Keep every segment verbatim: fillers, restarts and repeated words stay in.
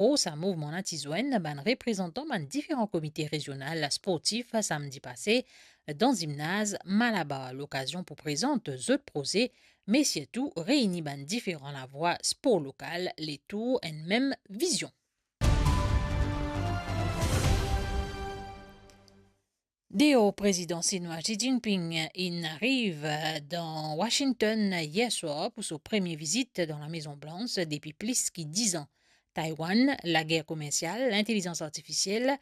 Or, sa mouvman la ti zwenn bann reprezantan bann diferan komite rezional sportif samdi pase dan zimnaz Malabar, lokazion pou prezant zot proze, me sirtou reyni bann diferan lavwa spor lokal letour enn mem vizion. Deor, Prezidan sinwa Xi Jinping inn ariv dan Washington yer swar pou so premie vizit dan Lamezon Blans depi plis ki diz an. Taiwan, lager komersial, lintelizans artifisiel,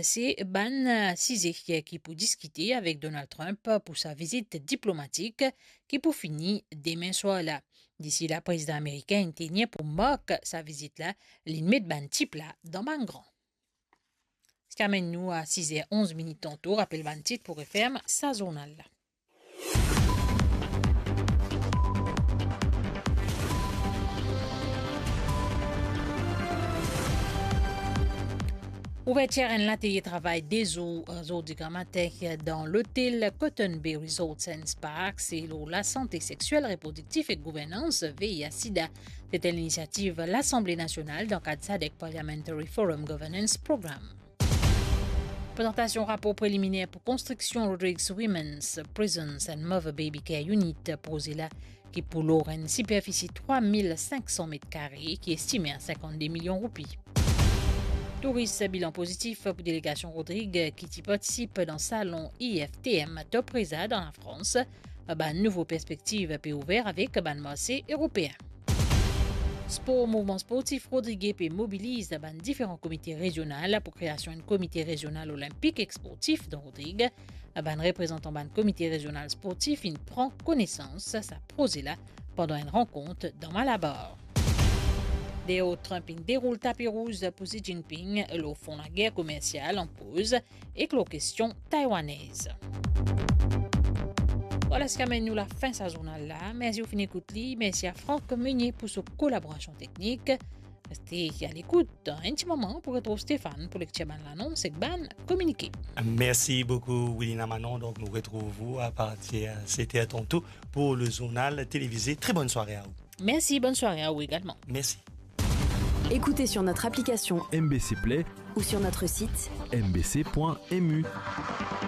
se bann size ki pou diskite avek Donald Trump pou sa vizit diplomatik ki pou fini demin swar la. Disi la, Prezidan amerikin inn tenir pou mark sa vizit la, linn met bann tip la dan bann gran. Sa amenn nou a siz er onz minit tanto, rapel bann tit pou referm sa zournal la. Ouvertir enn latelie travay de zour, zordi gramatin, dan lotel Cotton Bay Resorts and Spa, se lor lasante sektiel, reprodiktif ek gouvernans, V I H sida. Se enn linisiativ Lasanble Nasional dan kad SADC Parliamentary Forum Governance Program. Prezantasion rapor preliminer pou konstriksion Rodrigues Women's Prisons and Mother Baby Care Unit, proze la ki pou lor enn siperfisi trwa mil sink san met kare, ki estime a sinkant de milion roupi. Touris, bilan pozitif pou delegasion Rodrigues ki ti partisip dan salon I F T M Top Reza dan Lafrans. Bann nouvo perspektiv pe ouver avek bann marse eropeen. Spor, mouvman sportif Rodrigues pe mobiliz bann diferan komite rezional pou kreasion enn komite rezional olinpik ek sportif dan Rodrigues. Bann reprezantan bann komite rezional sportif inn pran konesans sa proze la pandan enn rankont dan Malabar. Deor, Trump inn deroul tapi rouz pou Xi Jinping lor fon lager komersial an poz ek lor kestion taiwanez. Vwala, sa amenn nou lafin sa zournal la. Mersi ou finn ekout li. Mersi a Franck Meunier pou so kolaborasion teknik. Reste a lekout. Dan enn ti moman, pou retrouv Stéphane pou lektir bann lanons ek bann kominike. Mersi boukou, Wilina Manon. Donk, nou retrouv ou a partir set er tanto pou le zournal televize. Tre bonn sware a ou. Mersi, bonn sware a ou egalman. Mersi. Écoutez sur notre application M B C Play ou sur notre site M B C point M U.